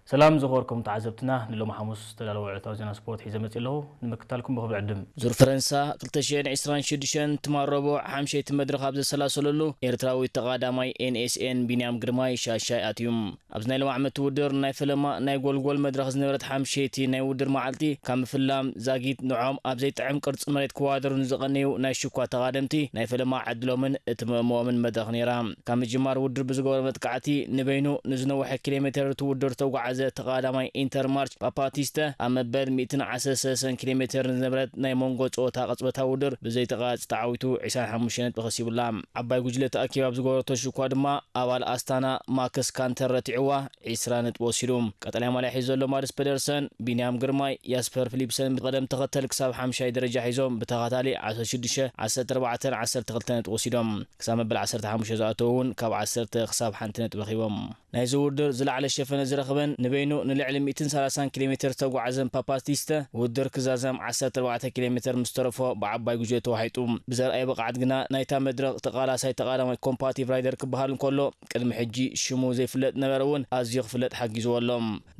ሰላም ዝኸበርኩም ተዓዘብትና፣ ንሎሚ ሓሙስ ዝተዳለወ ዕለታዊ ዜና ስፖርት ሒዘ መጺእ ኣለኹ። ንምክታልኩም ብኽብሪ ዕድም። ዙር ፈረንሳ ክልተ ሽሕን ዕስራን ሽዱሽተን ትማል ረቡዕ ሓምሸይቲ መድረኽ ኣብ ዘሰላሰለሉ፣ ኤርትራዊ ተቓዳማይ ኤን ኤስ ኤን ቢንያም ግርማይ ሻሻይ ኣትዩ። ኣብዚ ናይ ሎሚ ዓመት ውድድር ናይ ፈለማ ናይ ጎልጎል መድረኽ ዝነበረት ሓምሸይቲ ናይ ውድድር መዓልቲ ካብ ምፍላም ዛጊት ንዖም ኣብ ዘይጥዕም ቅርጺ መሬት ክዋደሩ ንዝቐነዩ ናይ ሽኳ ተቓደምቲ ናይ ፈለማ ዕድሎምን እትምእምኦምን መድረኽ ነይራ። ካብ ምጅማር ውድድር ብዝገበሮ መጥቃዕቲ ንበይኑ ንዝነውሐ ኪሎ ሜተር እቲ ውድድር ዝተጓዓዘ ተቓዳማይ ኢንተርማርች ፓፓቲስተ ኣብ መበል ሚእትን ዓሰርተ ሰለስተን ኪሎ ሜተር ንዝነበረት ናይ መንጎ ጸወታ ቅጽበታዊ ውድድር ብዘይተቓጽ ተዓዊቱ ዕስራን ሓሙሽተ ነጥቢ ከሲቡላ። ዓባይ ጉጅለ ተኣኪባ ኣብ ዝገበረቶ ሽኳ ድማ ኣባል ኣስታና ማክስ ካንተር ረቲዕዋ ዕስራ ነጥቢ ወሲዱ። ቀጠልያ ማልያ ሒዙ ዘሎ ማድስ ፔደርሰን፣ ቢንያም ግርማይ፣ ያስፐር ፊሊፕሰን ብቐደም ተኸተል ክሳብ ሓምሻይ ደረጃ ሒዞም ብተኸታሊ ዓሰርተ ሽዱሽተ፣ ዓሰርተ ኣርባዕተን ዓሰርተ ክልተን ነጥቢ ወሲዶም። ክሳብ መበል ዓሰርተ ሓሙሽተ ዝኣተዉ እውን ካብ ዓሰርተ ክሳብ ሓንቲ ነጥቢ ረኺቦም። ናይዚ ውድድር ዝለዓለ ሸፈነ ዝረኽበን ንበይኑ ንልዕሊ ሚእትን ሰላሳን ኪሎ ሜተር ዝተጓዓዘን ፓፓቲስተ ውድድር ክዛዘም ዓሰርተ ኣርባዕተ ኪሎ ሜተር ምስ ተረፎ ብዓባይ ጉጅለ ተዋሒጡ። ብዘርኣየ ብቕዓት ግና ናይታ መድረኽ ተቓላሳይ ተቓዳማይ ኮምፓቲቭ ራይደር ክበሃል እንከሎ ቅድሚ ሕጂ ሽሙ ዘይፍለጥ ነበረ እውን ኣዝዩ ክፍለጥ ሓጊዝዎ ኣሎ።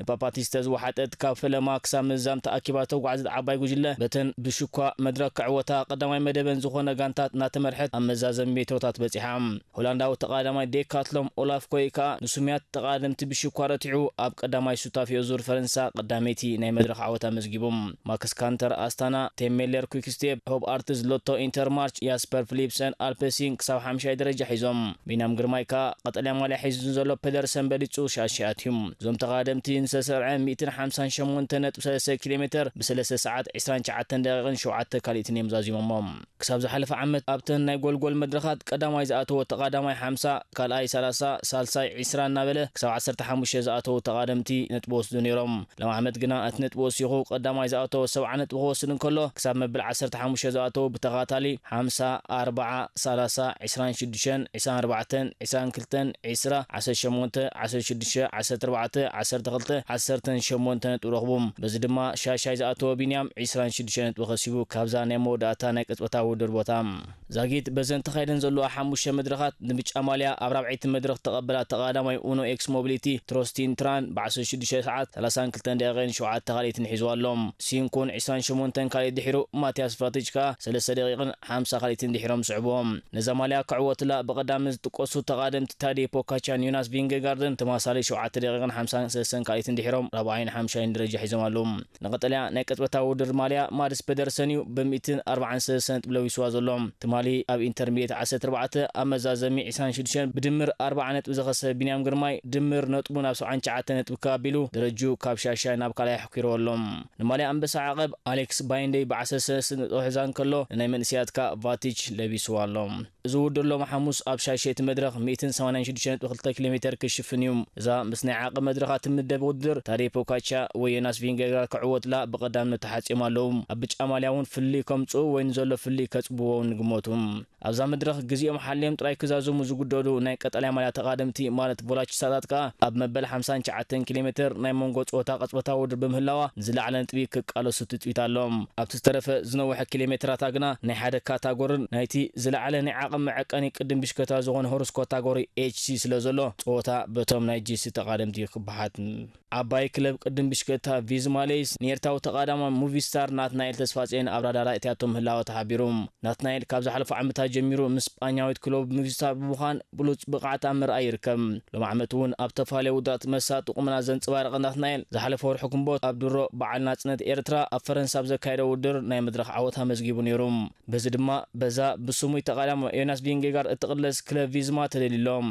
ንፓፓቲስተ ዝወሓጠት ካብ ፈለማ ክሳብ ምዛም ተኣኪባ ዝተጓዕዘት ዓባይ ጉጅለ በተን ብሽኳ መድረኽ ክዕወታ ቀዳማይ መደበን ዝኾነ ጋንታት እናተመርሐት ኣብ መዛዘሚ ሜትሮታት በጺሓ። ሆላንዳዊ ተቓዳማይ ዴካትሎም ኦላፍ ኮይ ከኣ ንስሙያት ተቓደምቲ ብሽኳ ረቲዑ ኣብ ቀዳማይ ሱታፌኦ ዙር ፈረንሳ ቀዳመይቲ ናይ መድረኽ ዓወት ኣመዝጊቡ። ማክስ ካንተር ኣስታና፣ ቴም ሜለር ኩክስቴፕ፣ ሆብ ኣርትስ ሎቶ ኢንተርማርች፣ ያስፐር ፊሊፕሰን ኣልፐሲን ክሳብ ሓምሻይ ደረጃ ሒዞም። ቢንያም ግርማይ ከኣ ቀጠልያ ማልያ ሒዙ ዘሎ ፔደርሰን በሊጹ ሻሻይ ኣትዩ። እዞም ተቓደምቲ ንዝተሰርዐ ሚእትን ሓምሳን ሸሞንተ ነጥቢ ሰለስተ ኪሎ ሜተር ብሰለስተ ሰዓት ዕስራን ትሽዓተን ደቂቕን ሸውዓተ ካልኢትን እዮም ዛዚሞሞ። ክሳብ ዝሓለፈ ዓመት ኣብተን ናይ ጎልጎል መድረኻት ቀዳማይ ዝኣተወ ተቓዳማይ ሓምሳ፣ ካልኣይ ሰላሳ፣ ሳልሳይ ዕስራ እናበለ ክሳብ ዓሰርተ ሓሙሽተ ዝኣተዉ ተቓደምቲ ነጥቢ ወስዱ ነይሮም። ሎም ዓመት ግና እቲ ነጥቢ ወሲኹ ቀዳማይ ዝኣተወ ሰብዓ ነጥቢ ክወስድ እንከሎ፣ ክሳብ መበል ዓሰርተ ሓሙሽተ ዝኣተዉ ብተኸታታሊ ሓምሳ፣ ኣርብዓ፣ ሰላሳ፣ ዕስራን ሽዱሽተን፣ ዕስራን ኣርባዕተን፣ ዕስራን ክልተን፣ ዕስራ፣ ዓሰርተ ሸሞንተ፣ ዓሰርተ ሽዱሽተ፣ ዓሰርተ ኣርባዕተ፣ ዓሰርተ ክልተ፣ ዓሰርተ ሸሞንተ ነጥቢ ረኽቡ። በዚ ድማ ሻሻይ ዝኣተወ ቢንያም ዕስራን ሽዱሽተ ነጥቢ ከሲቡ ካብዛ ናይ መወዳእታ ናይ ቅጽበታዊ ውድድር ቦታ። ዛጊት በዘን ተኻይደን ዘለዋ ሓሙሽተ መድረኻት ንብጫ ማልያ ኣብ ራብዐይቲ መድረኽ ተቐበላ ተቓዳማይ ኡኖ ኤክስ ሞቢሊቲ ትሮስቲን ትራን ብዓሰርተ ሽዱሽተ ሰዓት ሰላሳን ክልተን ደቂቕን ሸውዓተ ካልኢትን ሒዝዋ ኣሎ። ሲንኩን ዕስራን ሸሞንተን ካልኢት ድሒሩ ማቲያስ ፋቲች ከኣ ሰለስተ ደቂቕን ሓምሳ ካልኢትን ድሒሮም ስዕብዎም። ነዛ ማልያ ክዕወትላ ብቐዳሚ ዝጥቀሱ ተቓደምቲ ታዴ ፖካቻን ዮናስ ቪንገጋርድን ተማሳሊ ሸውዓተ ደቂቕን ሓምሳን ሰለስተን ካልኢትን ድሒሮም ራብዓይን ሓምሻይን ደረጃ ሒዞም ኣለዉ። ንቐጠልያ ናይ ቅጽበታዊ ውድድር ማልያ ማድስ ፔደርሰን እዩ ብሚእትን ኣርባዓን ሰለስተን ነጥቢ ለዊስዋ ዘሎ። ትማሊ ኣብ ኢንተርሚድየት ዓሰርተ ኣርባዕተ ኣብ መዛዘሚ ዕስራን ሽዱሽተን ብድምር ኣርብዓ ነጥቢ ዝኸሰበ ቢንያም ግርማይ ድምር ነጥቡ ናብ ሰብዓን ትሽዓተን ነጥቢ ከኣቢሉ ደረጅኡ ካብ ሻሻይ ናብ ካልኣይ ኣሕኲርዎ ኣሎ። ንማልያ ኣንበሳ ዓቐብ ኣሌክስ ባይንደይ ብዓሰርተ ሰለስተ ነጥቢ ሒዛ እንከሎ ንናይ መንእሰያት ከኣ ቫቲች ለቢስዋ ኣሎ። እዚ ውድድር ሎሚ ሓሙስ ኣብ ሻሸይቲ መድረኽ ሚእትን ሰማንያን ሽዱሽተ ነጥቢ ክልተ ኪሎ ሜተር ክሽፍን እዩ። እዛ ምስ ናይ ዓቐብ መድረኻ ትምደብ ውድድር ታዴ ፖካቻ ወይ ዮናስ ቪንገጋር ክዕወትላ ብቐዳምነት ተሓጺዮም ኣለዉ። ኣብ ብጫ ማልያ እውን ፍልልይ ከምጽኡ ወይ ንዘሎ ፍልልይ ከጽብዎ እውን ይግመቱ። ኣብዛ መድረኽ ግዜኦም ሓልዮም ጥራይ ክዛዘሙ ዝግደዱ ናይ ቀጠልያ ማልያ ተቓደምቲ ማለት ቮላቺስታታት ከኣ ኣብ መበል ሓምሳን ትሽዓተን ኪሎ ሜተር ናይ መንጎ ጸወታ ቅጽበታዊ ውድድር ብምህላዋ ንዝለዓለ ነጥቢ ክቃለሱ ትጽቢት ኣሎ። ኣብቲ ዝተረፈ ዝነውሐ ኪሎ ሜትራታ ግና ናይ ሓደ ካታጎርን ናይቲ ዝለዓለ ናይ ዓቕሚ መዐቀኒ ቅድም ብሽክለታ ዝኾነ ሆርስ ካታጎሪ ኤች ሲ ስለ ዘሎ ጸወታ በቶም ናይ ጂ ሲ ተቓደምቲ ክበሓት። ዓባይ ክለብ ቅድም ብሽክለታ ቪዝማ ሌይስ ንኤርትራዊ ተቓዳማይ ሙቪስታር ናትናኤል ተስፋጽዮን ኣብ ራዳራ እትያቶ ምህላዋ ተሓቢሩ። ናትናኤል ካብ ዝሓለፈ ዓመታት ጀሚሩ ምስ ስጳኛዊት ክለቡ ሙቪስታር ብምዃን ብሉጽ ብቕዓት ኣብ ምርኣይ ይርከብ። ሎም ዓመት እውን ኣብ ተፈላለየ ውድድራት መሳጢ ቁመና ዘንጸባረቐ ናትናኤል ዝሓለፈ ወርሒ ግንቦት ኣብ ድሮ በዓል ናጽነት ኤርትራ ኣብ ፈረንሳ ኣብ ዘካየደ ውድድር ናይ መድረኽ ዓወት ኣመዝጊቡ ነይሩ። በዚ ድማ በዛ ብስሙይ ተቓዳማይ ዮናስ ቪንጌጋርድ እትቕለስ ክለብ ቪዝማ ተደልዩ ኣሎ።